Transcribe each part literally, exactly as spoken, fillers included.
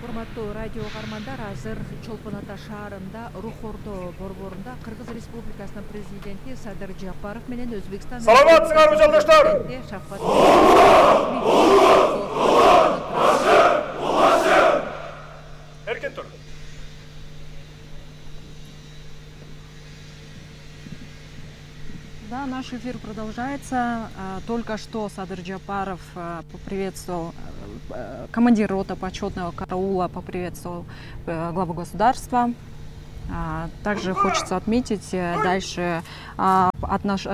Урматтуу радио каармандар, азыр Чолпон Ата шаарында Рух Ордо борборунда Кыргыз Республикасынын президенти Садыр Жапаров менен Өзбекстан Саламатсыңарбы жолдоштор? Эркен тур. Да, наш эфир продолжается. Только что Садыр Жапаров поприветствовал, командир роты почетного караула поприветствовал главу государства. Также хочется отметить дальше отнош...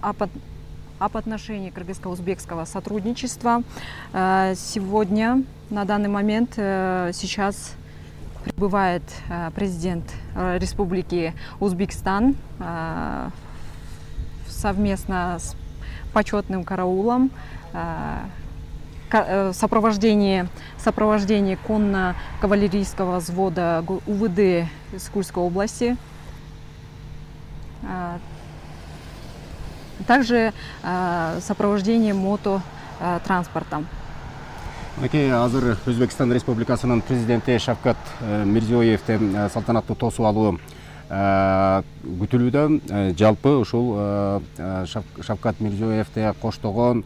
об отношении кыргызско-узбекского сотрудничества. Сегодня, на данный момент, сейчас прибывает президент Республики Узбекистан совместно с почетным караулом в сопровождении, сопровождении конно-кавалерийского взвода УВД из Курской области. Также сопровождение мототранспортом. Мынакей азыр Өзбекстан Республикасынын президенти Шавкат Мирзиёевдин салтанаттуу тосуп алуу күтүлүүдө. Жалпы ушул Шавкат Мирзиёевди коштогон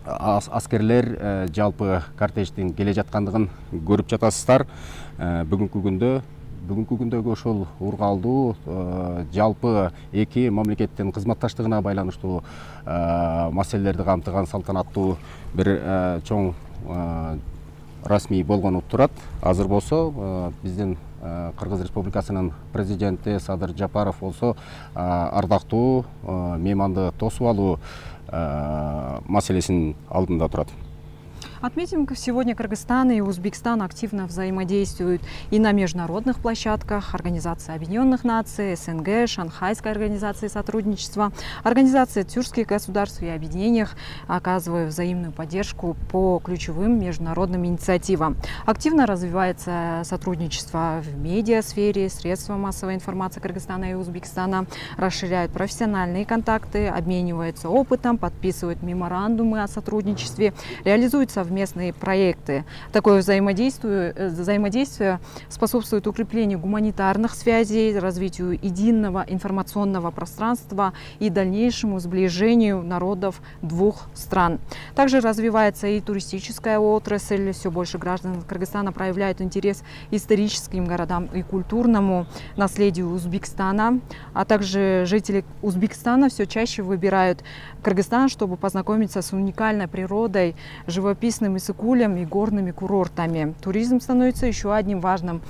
аскерлер жалпы кортеждин келе жаткандыгын көрүп жатасыздар. Бүгүнкү күндө Бүгүнкү күндөгү ушул ургалдуу жалпы эки мамлекеттин кызматташтыгына байланыштуу маселелерди камтыган салтанаттуу бир чоң расмий болгону турат. Азыр болсо биздин Кыргыз Республикасынын президенти Садыр Жапаров болсо ардактуу мейманды тосуп алуу маселесинин алдында турат. Отметим, сегодня Кыргызстан и Узбекистан активно взаимодействуют и на международных площадках: Организации Объединенных Наций, СНГ, Шанхайской организации сотрудничества, Организации тюркских государств и объединениях, оказывая взаимную поддержку по ключевым международным инициативам. Активно развивается сотрудничество в медиасфере, средства массовой информации Кыргызстана и Узбекистана расширяют профессиональные контакты, обмениваются опытом, подписывают меморандумы о сотрудничестве, реализуют совместные проекты. Такое взаимодействие, взаимодействие способствует укреплению гуманитарных связей, развитию единого информационного пространства и дальнейшему сближению народов двух стран. Также развивается и туристическая отрасль. Все больше граждан Кыргызстана проявляют интерес к историческим городам и культурному наследию Узбекистана. А также жители Узбекистана все чаще выбирают Кыргызстан, чтобы познакомиться с уникальной природой, живописным иссыкулем и горными курортами. Туризм становится еще одним важным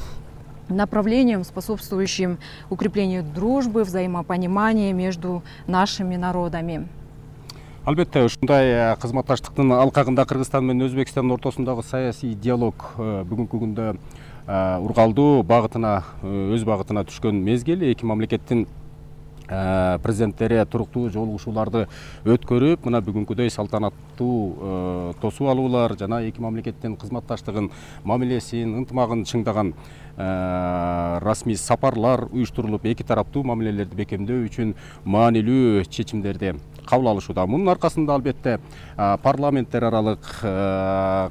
направлением, способствующим укреплению дружбы, взаимопонимания между нашими народами. Албетте, ушундай кызматташтыктын алкагында Кыргызстан менен Өзбекстандын ортосундагы саясий диалог бүгүнкү күндө ургалдуу багытына, өз багытына түшкөн мезгил. Эки мамлекеттин президенттери туруктуу жолугушууларды өткөрүп, мына бүгүнкүдөй салтанаттуу тосуп алуулар жана эки мамлекеттин кызматташтыгын, мамилесин, ынтымагын чыңдаган расмий сапарлар уюштурулуп, эки тараптуу мамилелерди бекемдөө үчүн маанилүү чечимдерди кабыл алышууда. Мунун аркасында албетте парламенттер аралык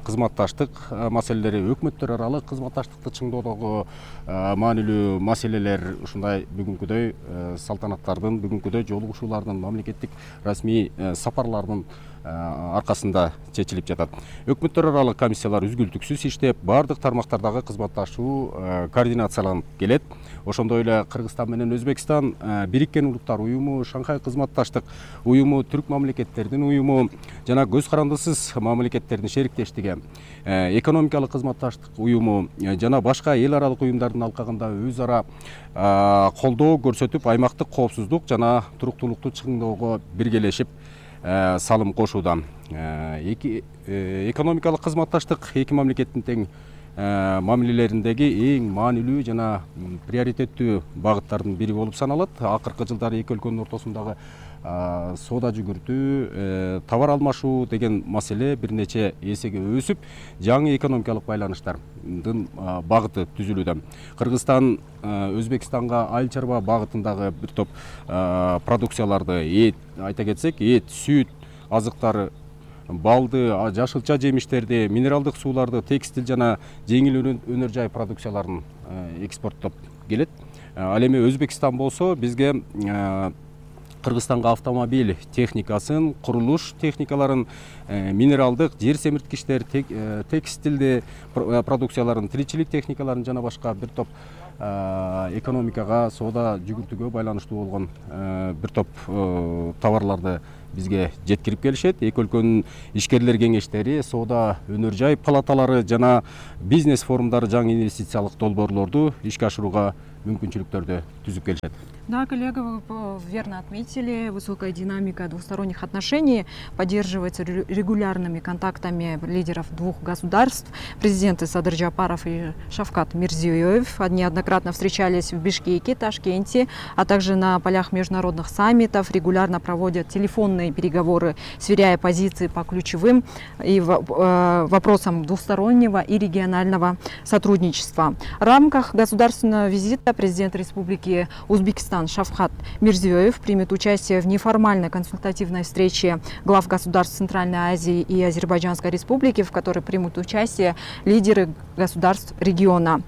кызматташтык маселелери, өкмөттөр аралык кызматташтыкты чыңдоодогу маанилүү маселелер ушундай бүгүнкүдөй салтанаттардын, бүгүнкүдөй жолугушуулардын, мамлекеттик расмий сапарлардын аркасында чечилип жатат. Өкмөттөр аралык комиссиялар үзгүлтүксүз иштеп, бардык тармактардагы кызматташуу координацияланып келет. Ошондой эле Кыргызстан менен Өзбекстан, Бириккен Улуттар уюму, Шанхай кызматташтык уюму, түрк мамлекеттердин уюму жана көз карандысыз мамлекеттердин шериктештиги, экономикалык кызматташтык уюму жана башка эл аралык уюмдардын алкагында өз ара колдоо көрсөтүп, аймактык коопсуздук жана туруктуулукту чыңдоого биргелешип салым кошууда. Эки экономикалык кызматташтык эки мамлекеттин тең мамилелериндеги эң маанилүү жана приоритеттүү багыттардын бири болуп саналат. Акыркы жылдары эки өлкөнүн ортосундагы соода жүгүртүү, товар алмашуу деген маселе бир нече эсеге өсүп, жаңы экономикалык байланыштардын багыты түзүлүүдө. Кыргызстан Өзбекстанга айыл чарба багытындагы бир топ продукцияларды, эт, айта кетсек, эт, сүт, азыктары, балды, жашылча жемиштерди, минералдык сууларды, текстил жана жеңил өнөр жай продукцияларын экспорттоп келет. Ал эми Өзбекстан болсо бизге Кыргызстанга автомобиль техникасын, курулуш техникаларын, минералдык, жер семирткичтер, текстилди продукцияларын, тиричилик техникаларын жана башка бир топ экономикага, соода жүгүртүүгө байланыштуу болгон бир топ товарларды бизге жеткирип келишет. Эки өлкөнүн ишкерлер кеңештери, соода өнөр жай палаталары жана бизнес форумдары жаңы инвестициялык долбоорлорду ишке ашырууга мүмкүнчүлүктөрдү түзүп келишет. Да, коллега, вы верно отметили, высокая динамика двусторонних отношений поддерживается регулярными контактами лидеров двух государств. Президенты Садыр Жапаров и Шавкат Мирзиёев неоднократно встречались в Бишкеке, Ташкенте, а также на полях международных саммитов, регулярно проводят телефонные переговоры, сверяя позиции по ключевым и вопросам двустороннего и регионального сотрудничества. В рамках государственного визита президент Республики Узбекистан Шавкат Мирзиёев примет участие в неформальной консультативной встрече глав государств Центральной Азии и Азербайджанской Республики, в которой примут участие лидеры государств региона.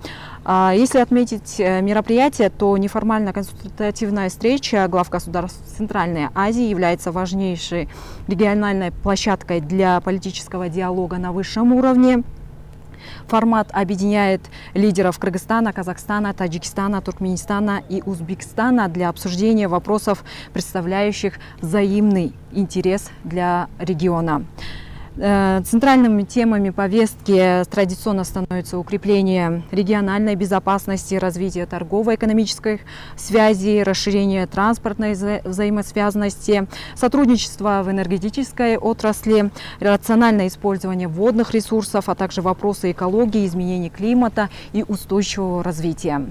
Если отметить мероприятие, то неформальная консультативная встреча глав государств Центральной Азии является важнейшей региональной площадкой для политического диалога на высшем уровне. Формат объединяет лидеров Кыргызстана, Казахстана, Таджикистана, Туркменистана и Узбекистана для обсуждения вопросов, представляющих взаимный интерес для региона. Центральными темами повестки традиционно становятся укрепление региональной безопасности, развитие торгово-экономических связей, расширение транспортной вза взаимосвязанности, сотрудничество в энергетической отрасли, рациональное использование водных ресурсов, а также вопросы экологии, изменения климата и устойчивого развития.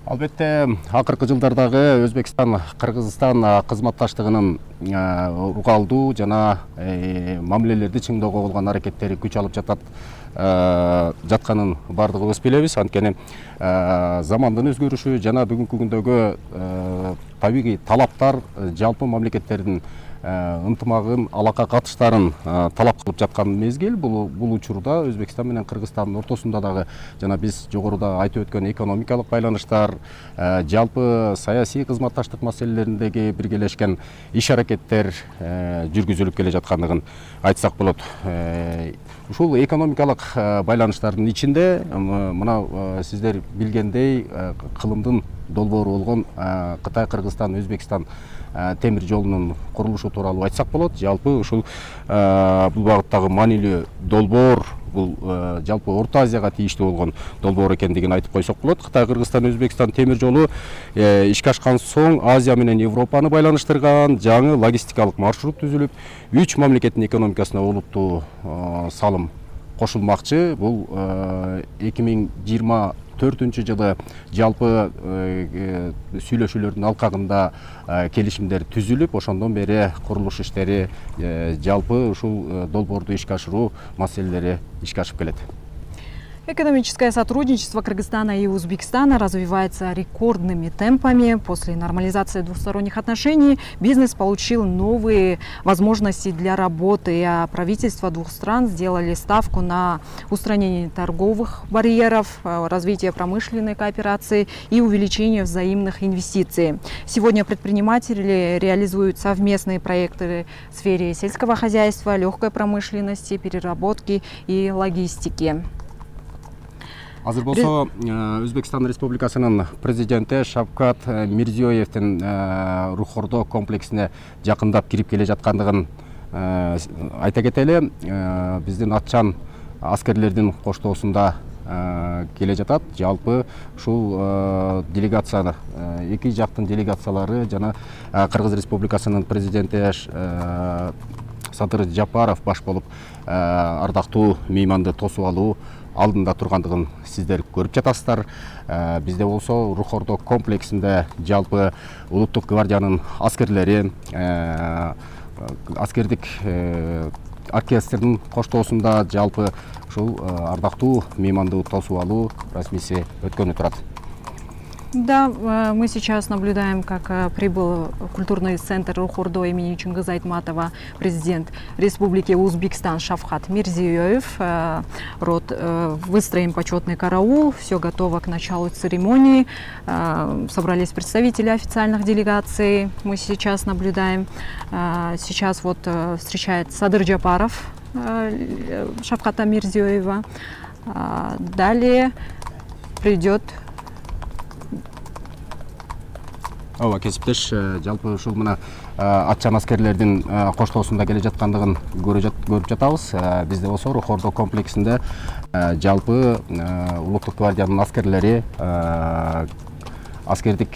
Албетте, акыркы жылдардагы Өзбекстан Кыргызстан кызматташтыгынын угалдуу жана мамилелерди чыңдоого болгон аракеттери күч алып жатат жатканын бардыгыбыз билебиз. Анткени замандын өзгөрүшү жана бүгүнкү күндөгү табигый талаптар жалпы мамлекеттердин ынтымагын, алака катыштарын талап кылып жаткан мезгил. Бул бул учурда Өзбекстан менен Кыргызстандын ортосунда дагы жана биз жогоруда айтып өткөн экономикалык байланыштар, жалпы саясий кызматташтык маселелериндеги биргелешкен иш аракеттер жүргүзүлүп келе жаткандыгын айтсак болот. Ушул экономикалык байланыштардын ичинде мына сиздер билгендей кылымдын долбоору болгон Кытай, Кыргызстан, Өзбекстан темир жолунун курулушу тууралуу айтсак болот. Жалпы ушул бул багыттагы маанилүү долбоор, бул жалпы Орто Азияга тийиштүү болгон долбоор экендигин айтып койсок болот. Кытай, Кыргызстан, Өзбекстан темир жолу ишке ашкан соң Азия менен Европаны байланыштырган жаңы логистикалык маршрут түзүлүп, үч мамлекеттин экономикасына олуттуу салым кошулмакчы. Бул эки миң жыйырма төртүнчү жылы жалпы сүйлөшүүлөрдүн алкагында келишимдер түзүлүп, ошондон бери курулуш иштери, жалпы ушул долбоорду ишке ашыруу маселелери ишке ашып келет. Экономическое сотрудничество Кыргызстана и Узбекистана развивается рекордными темпами. После нормализации двусторонних отношений бизнес получил новые возможности для работы, а правительства двух стран сделали ставку на устранение торговых барьеров, развитие промышленной кооперации и увеличение взаимных инвестиций. Сегодня предприниматели реализуют совместные проекты в сфере сельского хозяйства, легкой промышленности, переработки и логистики. Азыр болсо Өзбекстан Республикасынын президенти Шавкат Мирзиёевдин Рухордо комплексине жакындап кирип келе жаткандыгын айта кетели. Биздин атчан аскерлердин коштоосунда келе жатат. Жалпы ушул делегацияны, эки жактын делегациялары жана Кыргыз Республикасынын президенти Садыр Жапаров баш болуп ардактуу мейманды тосуп алуу алдында тургандыгын сиздер көрүп жатасыздар. Бизде болсо Рухордо комплексинде жалпы улуттук гвардиянын аскерлери, аскердик оркестрдин коштоосунда жалпы ушул ардактуу мейманды тосуп алуу расмиси өткөнү турат. Да, мы сейчас наблюдаем, как прибыл культурный центр Рухордо имени Чингиза Айтматова президент Республики Узбекистан Шавкат Мирзиёев. Род, выстроим почетный караул, все готово к началу церемонии. Собрались представители официальных делегаций. Мы сейчас наблюдаем, сейчас вот встречает Садыр Джапаров Шавката Мирзиёева. Далее придет Ооба, кесиптеш, жалпы ушул мына атчан аскерлердин коштоосунда келе жаткандыгын көрүп жатабыз. Бизде болсо Рухордо комплексинде жалпы улуттук гвардиянын аскерлери, аскердик